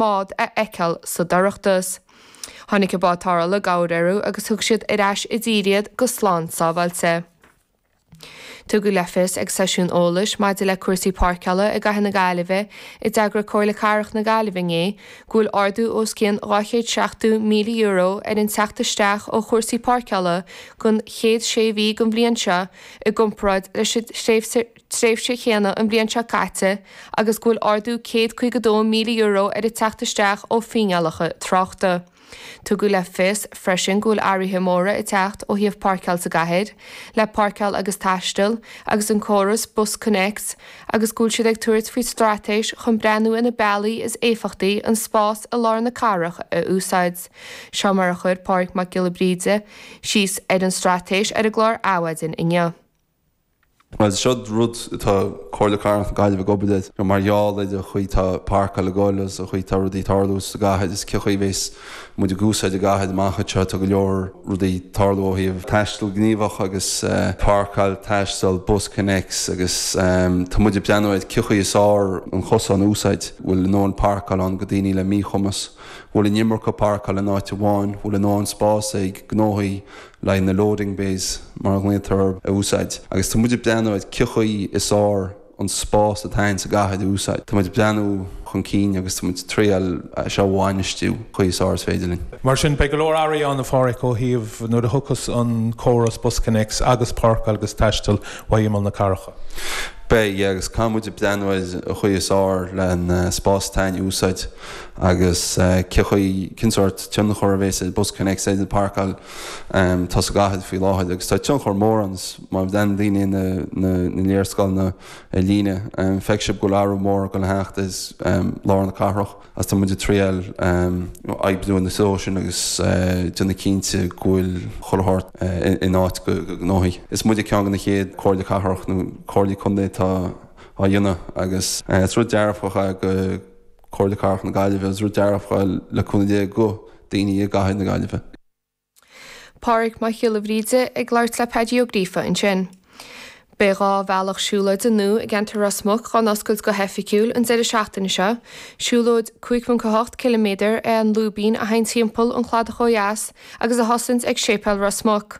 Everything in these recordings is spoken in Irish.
Bád a fheiceáil sa dorchadas. Tháinig an bád tarrthála i gcabhair orthu agus thug siad ar ais i dtír iad go slán sábháilte. Tugadh le fios ag seisiún eolais maidir le cúrsaí páirceála i gcathair na Gaillimhe a d'eagraigh Comhairle Cathrach na Gaillimhe inné go bhfuil ardú os cionn €270,000 ar an teacht isteach ó chúrsaí páirceála don chéad sé mhí den bhliain seo i gcomparáid leis an tréimhse chéanna an bhliain seo caite agus go bhfuil ardú €152,000 ar an teacht isteach ó fíneálacha tráchta. Tugadh le fios freisin go bhfuil athruithe móra ag teacht ó thaobh páirceáil sa gcathair, le Páirceáil agus Taisteal agus an córas BusConnects agus go bhfuil siad ag tabhairt faoi straitéis chun breathnú ar na bealaí is éifeachtaí an spás i lár na cathrach a úsáid. Seo mar a chuir Pádraig Mac Giolla Bríde síos ar an straitéis ar an gclár Adhmhaidin inniu. Bhuel, seo rud atá Comhairle Cathrach na Gaillimhe ag obair air mar gheall ar an chaoi atá páirceáil ag goil agus an chaoi atá rudaí ag tarlú sa gcathair is cén chaoi a bheas muid ag úsáid an gcathair amach anseo. Tá go leor rudaí ag tarlú ó thaobh taisteal gníomhach agus páirceáil, taisteal, BusConnects agus tá muid ag breathnú ar cén chaoi is fearr an cosán a úsáid. Bhfuil a ndóthain páirceáil ann go daoine le míchumas? Bhfuil an iomarca páirceáil in áit amháin? Bhfuil a ndóthain spás ag gnóthaí? le haghaidh na loading bays mar a ghlaotar orthu a úsáid agus tá muid ag breathnú ar cén chaoi is fearr an spás atá againn sa gcathair a úsáid. Tá muid ag breathnú chun cinn agus tá muid ag triail é seo a bhainistiú chaoi is fearr is féidir linn. Mar sin, beidh go leor athruithe ann, a Pháraic, ó thaobh nuair a thiocfas an córas BusConnects agus Páirceáil agus Taisteal ó imeall na cathrach. Beidh, yeah, agus caithfidh muid ag breathnú ar an chaoi is fearr le an spás atá againn a úsáid agus cén chaoi, cén sórt tionchar a bhéas ag BusConnects ar an bpáirceáil atá sa gcathair faoi láthair agus tá tionchar mór ann má bhreathnaíonn daoine na léarscáileanna ar líne feicfidh sibh go bhfuil athrú mór ag dul a theacht ar lár na cathrach agus tá muid ag triail oibriú ina threo sin agus déanamh cinnte go bhfuil chuile shórt in áit go gnóthaí. Is muide ceann de na chéad comhairle cathrach nó comhairlí contae atá á dhéanamh agus is rud dearfach é go Comhairle Cathrach na Gaillimhe is rud dearfach é le cúnamh Dé go daoine i gcathair na Gaillimhe. Pádraig Mac Giolla Bhríde ag labhairt le Paddy Ó Gríofa ansin. Beidh 2 bhealach siúlóide nua i gceantar Ros Muc á n-oscailt go hoifigiúil an deireadh seachtaine seo. Siúlóid 5.8 km é an Lúibín a théann timpeall an chladach ó dheas agus a thosaíonns ag Séipéal Ros Muc.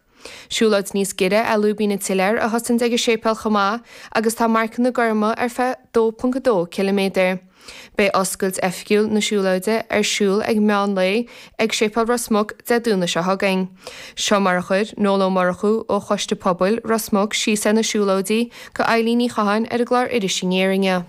Siúlóid níos giorra é Lúibín an tSiléir a thosaíonns ag an séipéal chomh maith agus tá marcanna gorma ar feadh 2.2 ciliméadar. Beidh oscailt oifigiúil na siúlóide ar siúl ag meán lae ag Séipéal Ros Muc Dé Domhnaigh seo chugainn. Seo mar a chuir Noel Ó Murchú ó Choiste Pobail Ros Muc síos ar na siúlóidí go Eilín Ní Chatháin ar an gclár Iris Aniar inniu.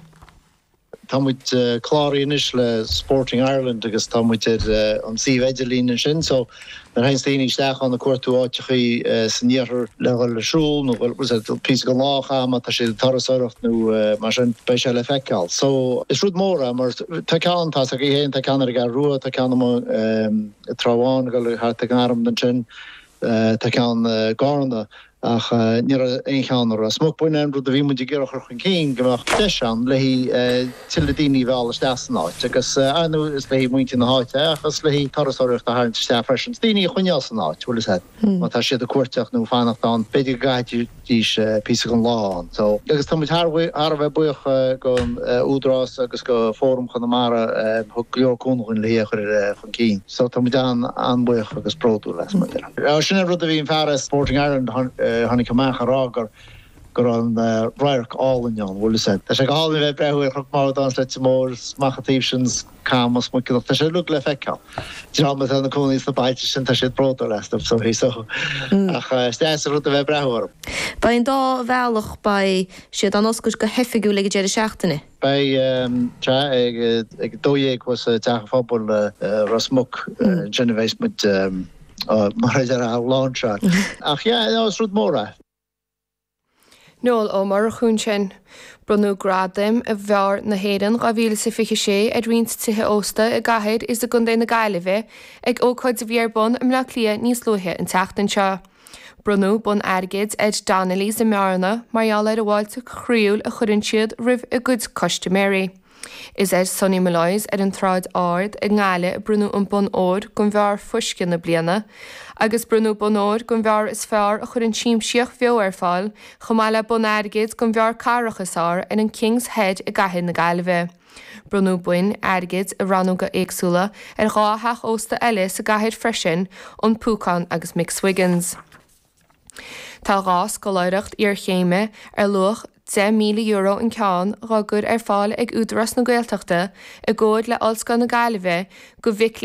Tá muid cláraithe anois le Sporting Ireland agus tá muid ar an suíomh idirlín ansin so nuair a théanns daoine isteach ann ag cuartú áiteachaí san iarthar le dhul ag siúl nó píosa den lá a chaitheamh má tá siad ag turasóireacht nó mar sin beidh sé le feiceáil. So is rud mór é mar tá ceann, tá a fhios agaibh féin, tá ceann ar an gCeathrú Rua, tá ceann amuigh i Trá Bháin ag dul thart ag an arm ansin. Tá ceann i gCarna ach ní raibh aon cheann i Ros Muc. B'in an rud a bhí muid ag iarraidh a chur chun cinn, go mbeadh deis ann le haghaidh tuilleadh daoine a mhealladh isteach san áit agus, ar ndóigh, is le haghaidh muintir na háite é ach is le haghaidh turasóireacht a tharraingt isteach freisin. Is daoine a choinneáil san áit, bhfuil fhios a'd, má tá siad ag cuairteacht nó ag fanacht ann, b'fhéidir go gcaithfidís píosa den lá ann. So, agus tá muid thar a bheith buíoch don Údarás agus go Fóram Chonamara a thug go leor cúnamh dhúinn le hé a chur chun cinn. So tá muid an-bhuíoch agus bródúil as, mar a déarfá. Sin an rud a bhí an fear as Sporting Ireland a tháinig amach a rá gur go raibh an radharc álainn ann, bhfuil fhios a'd. Tá sé go hálainn a bheith ag breathnú ar Chnoc Mharbhdáin is Leitir Móir is amach an taobh sin is Camas, Muiceallach, tá sé uilig le feiceáil. Dream atá ina cónaí sna bailte sin, tá siad bródúil astu so so ach is deas an rud a bheith ag breathnú orthu. Beidh an dá bhealach, beidh siad á n-oscailt go hoifigiúil ag an deireadh seachtaine. Beidh sea ag 12 thuas i dTeach an Phobail i Ros Muc ansin a bheas muid mar a déarfá á láinseáil. Ach yeah, no, is rud mór é. Noel Ó Murchú ansin. Bronnadh Gradaim Bheáir na hÉireann 2026 ar roinnt tithe ósta i gcathair is i gcontae na Gaillimhe ag ócáid a bhí ar bun i mBleá Cliath níos luaithe an tseachtain seo. Bronnadh bonn airgid ar Donnelly's i mBearna mar gheall ar an bhfáilte chroíúil a chuireann siad roimh a gcuid custaiméirí. Is ar Sonny Molloy's ar an tSráid Ard i nGaillimh a bronnadh an bonn óir don bheár fuisce na bliana, agus bronnadh bonn óir don bheár is fearr a chuireann siamsaíocht bheo ar fáil, chomh maith le bonn airgid don bheár cathrach is fearr ar an King's Head i gcathair na Gaillimhe. Bronnadh boinn airgid i rannóga éagsúla ar 2 theach ósta eile sa gcathair freisin, An Púcán agus McSwiggan's. Tá 2 scoláireacht iarchéime ar luach €10,000 an ceann dhá gcur ar fáil ag Údarás na Gaeltachta i gcomhar le Ollscoil na Gaillimhe do mhic léinn.